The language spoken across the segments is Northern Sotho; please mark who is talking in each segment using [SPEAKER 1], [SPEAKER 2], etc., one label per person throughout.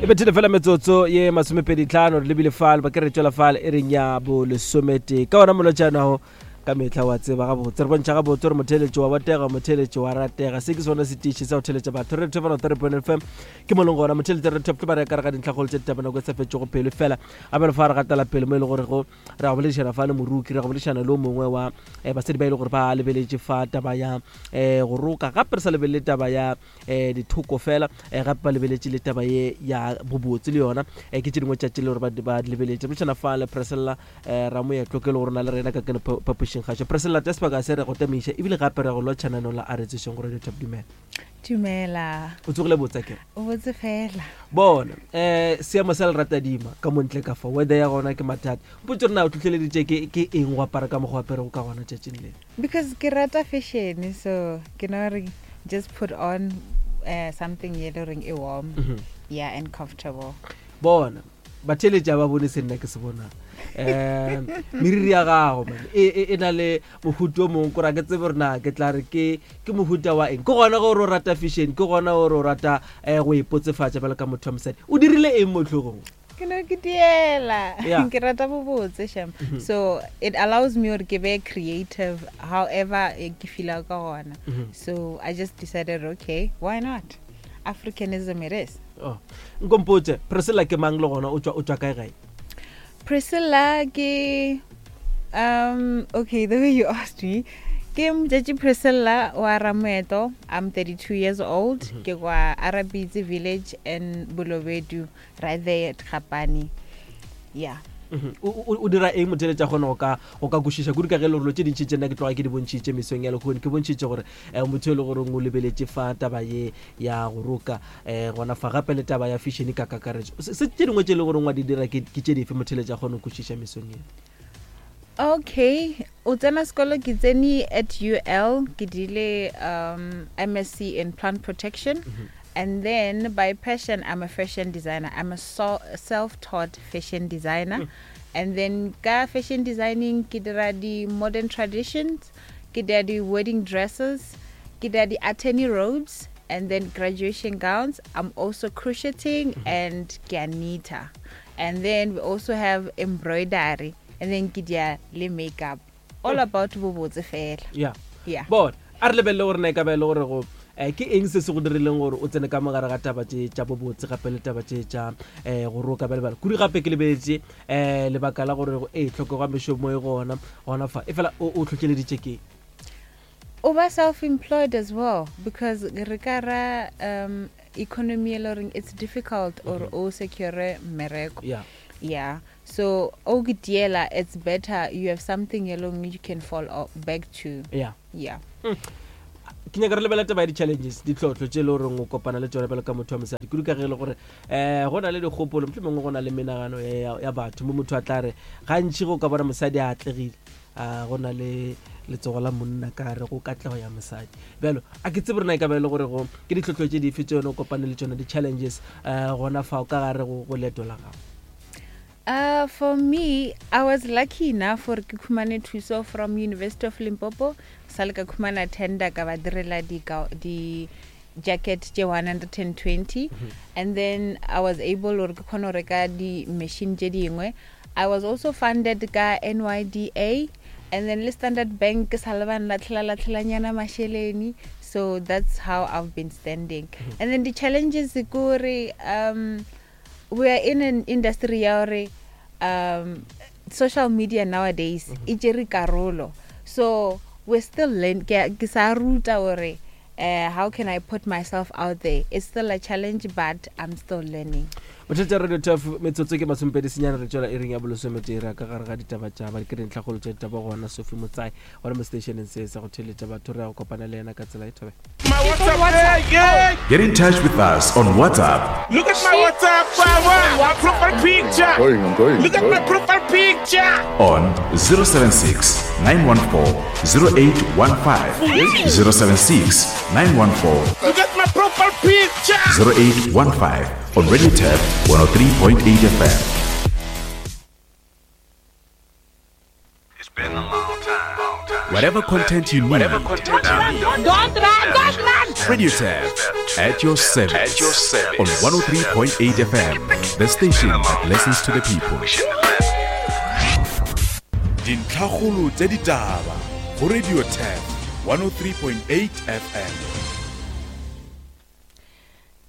[SPEAKER 1] bethile fela metsotso ye masomepeditlhano re lebile fale ba ke re tšwela fale e reng ya bolesometee ka ona molotšanago ka mehla wa tseba gabotse re bontšha gabotse gore motheeletši wa botega motheeletši wa ratega se ke sona setiši sa go theeletša batho re thobana three point fm ke mo leng gona motheeletši re thoptle ba re ka re ga dintlhakgolo tše ditaba nako e sa fetšego pelo fela a bjalo fa re gatela pele mo e le gore go re go boledišana fa le moruki re go boledišana le o mongwe wa eh, basadi ba e le gore ba lebeletše fa taba ya um go roka gape re sa lebelele taba ya um dithoko fela um gape ba lebeletše le taba ye ya bobotse le yona um ke tše dingwe tša tše le gore ba di lebeletše re boledišana fa le Priscilla um Ramoetlo ke le gore na le rena ka keno phapošing gašo. Priscilla tša sebaka se re go tamiša ebile gape re go lotšha nanong la a re tsošeng go Radio Top. Dumela.
[SPEAKER 2] Dumela.
[SPEAKER 1] O tsogile botsa kere?
[SPEAKER 2] O botse fela.
[SPEAKER 1] Bona, um seemo sa leratadima ka montle ka fa weather ya gona ke mathata. Mpotse gore na o tlhotlheleditše ke ke eng go apara ka mokgwa o aperego ka gona tšatšing le?
[SPEAKER 2] Because ke rata fashion so ke no re just put on uh, something ye le goreng e warm. Mm -hmm. Yeah, and comfortable.
[SPEAKER 1] Bona, batheeletši a ba bone se nna ke se bonang um meriri ya gago man e, e, e na le mohuta o mongwe kora ke tsebe gore na ke tla re ke ke mohuta wa eng ke gona gore o rata fashion ke gona gore o rata um go ipotsefatša bjalo ka motho wa mosadi o dirile eng mo tlhogong
[SPEAKER 2] ke no ke diela ke rata bobotse sham mhm. so it allows me gore ke be creative however eh, ke feela ka gona mhm. so i just decided okay why not Africanism it is.
[SPEAKER 1] Oh. Nkompotše, Priscilla ke mang le gona o tšwa o tšwa kae gae?
[SPEAKER 2] Priscilla ke um okay, the way you asked me. Ke Motšatši Priscilla wa Ramoeto. I'm 32 years old. Mm -hmm. Ke kwa Arabitsi village in Bolobedu right there at Gapani. Yeah.
[SPEAKER 1] Mhm. O dira eng motheletša kgone go ka go ka kwešiša kudu ka ge le gore tše dintši tše nna ke tloga ke di bontšhitše mesong ya lekgone ke bontšhitše gore um motho e le goreng o lebeletše fa taba ye ya go roka um gona fa gape le taba ya fashion ka kakaretso se tše dingwe tše e le goreng wa di dira ke tše dife motheletša kgone go kwešiša mesong ye
[SPEAKER 2] okay o tsena sekolo ke tsene at ul ke dile um msc in plant protection mm -hmm. And then by passion, I'm a fashion designer. I'm a so, self-taught fashion designer. Mm. And then ka fashion designing, ke dira di modern traditions, ke dira di wedding dresses, ke dira di attorney robes, and then graduation gowns. I'm also crocheting mm -hmm. and ke a knitter. And then we also have embroidery. And then ke dira le makeup. all about bobotse fela
[SPEAKER 1] yeah
[SPEAKER 2] yeah
[SPEAKER 1] bona a re lebelele gore na e ka ba e le gore go um ke eng se se go dirileng gore o tsene ka mogare ga taba tše tša bobotse gape le taba tše tša um go roka bjale bjale kudu gape ke lebeletše um lebaka la gore ee tlhokego ya mešomo e gona gona fa e fela o o tlhotlheleditše ke
[SPEAKER 2] o ba self-employed as well because re ka ra um economy e le goreng it's difficult or mm -hmm. o secure mmereko
[SPEAKER 1] yeah
[SPEAKER 2] yeah So o ke tiela it's better you have something e leng you can fall back to.
[SPEAKER 1] Yeah.
[SPEAKER 2] Yeah.
[SPEAKER 1] Mm. Ke nyaka re lebela taba ya di-challenges ditlhotlho tše e le goreng o kopana le tšona bjalo ka motho wa mosadi kudu ka ge e le gore um go na le dikgopolo motlho mongwe go na le menagano ya batho mo motho a tla re gantši go ka bona mosadi a atlegile a go na le letsogo la monna ka re go katlego ya mosadi bjalo a ke tsebe rena e ka ba e le gore go ke ditlhotlho tše dife tše yone o kopane le tšona di-challenges um gona fao ka gare go leeto la gago
[SPEAKER 2] Uh, for me, I was lucky enough gore ke khumane thuso from University of Limpopo. Sa le ka khumana tender ka ba direla di di jacket tše 120 mm -hmm. and then I was able gore ke kgone go reka di machine tše dingwe. I was also funded ka NYDA and then le Standard Bank ke sa le ba nlatlhela latlhelanyana masheleni so that's how I've been standing. Mm -hmm. And then the challenges ke gore um we are in an industry ya gore um social media nowadays mm -hmm. e tšere karolo so we're still learn ke sa ruta gore uh, how can i put myself out there it's still a challenge but i'm still learning
[SPEAKER 1] bothata radio taf metsotso ke masomepedi senyane re tšwela e reng ya bolesomete re ka gare ga ditaba tša ba ke dintlhakgolo tša ditaba gona sophie motsai gona mo stationeng se sa go theeletša batho re ya go kopana le yena ka tsela e thabe
[SPEAKER 3] Get in touch with us on WhatsApp.
[SPEAKER 4] Look at my WhatsApp, my profile picture.
[SPEAKER 5] Going, I'm going.
[SPEAKER 4] Look at my profile picture.
[SPEAKER 3] On 076 914 0815. 076 914
[SPEAKER 4] Look at my profile picture.
[SPEAKER 3] 0815 on Radio Tab 103.8 FM. Whatever content you need.
[SPEAKER 4] Don't run, don't run.
[SPEAKER 3] Radio Tab At your service. At your service. On 103.8 FM, the station that listens to the people. Dintlhakgolo tša ditaba go Radio Tap 103.8 FM.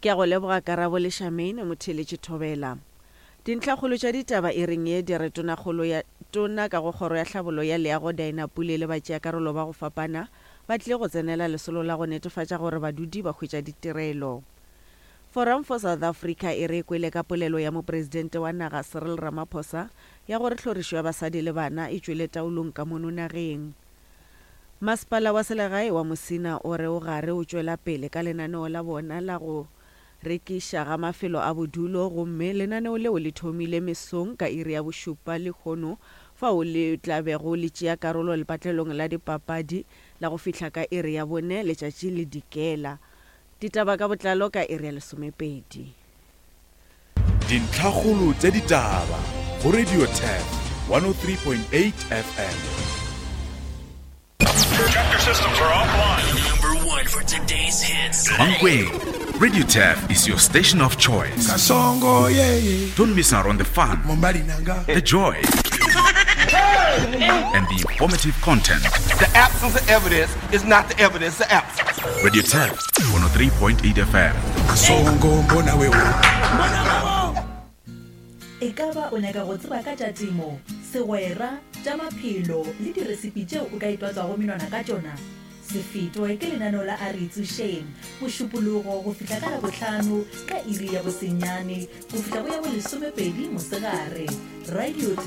[SPEAKER 5] Ke a go leboga Karabo le Charmaine Motheeletši Thobela. Dintlhakgolo tša ditaba e reng ye di re Tonakgolo ya Tona ka go Kgoro ya Tlhabollo ya Leago Dinah Pule le batšeakarolo ba go fapana ba tlile go tsenela lesolo la go netefatša gore badudi ba hwetša ditirelo. Forum for South Africa e re e kwele ka polelo ya Mopresidente wa naga Cyril Ramaphosa ya gore tlhorišo ya basadi le bana e tšwele taolong ka mono nageng. Masepala wa selegae wa Musina o re o gare o tšwela pele ka lenaneo la bona la go rekiša ga mafelo a bodulo gomme lenaneo leo le thomile mesong ka iri ya bošupa lehono fao le tla bego le tšea karolo lepatlelong la dipapadi la go fihla ka iri ya bone letšatši le dikela. Ditaba ka botlalo ka iri ya lesomepedi.
[SPEAKER 3] Dintlhakgolo tša ditaba go Radio Turf 103.8 FM.
[SPEAKER 6] Chapter systems are offline. Number one for today's hits.
[SPEAKER 3] Mankweng, Radio Turf is your station of choice.
[SPEAKER 7] Kasongo, yeah, yeah.
[SPEAKER 3] Don't miss out on the fun,
[SPEAKER 7] Mombali nanga.
[SPEAKER 3] the joy, and the informative content.
[SPEAKER 4] The absence of evidence is not the evidence of absence.
[SPEAKER 3] Radio Turf 103.8 FM.
[SPEAKER 7] Kasongo, mbona wewe.
[SPEAKER 8] E ka ba o nyaka go tseba ka tša temo, segwera, tša maphelo le diresipi tšeo o ka itwatswago menwana ka tšona? Se fetwe ke lenaneo la A Re Itsošeng, Mošupologo go fihla ka Labohlano ka iri ya bosenyane go fihla go ya bolesomepedi mosegare. Radio.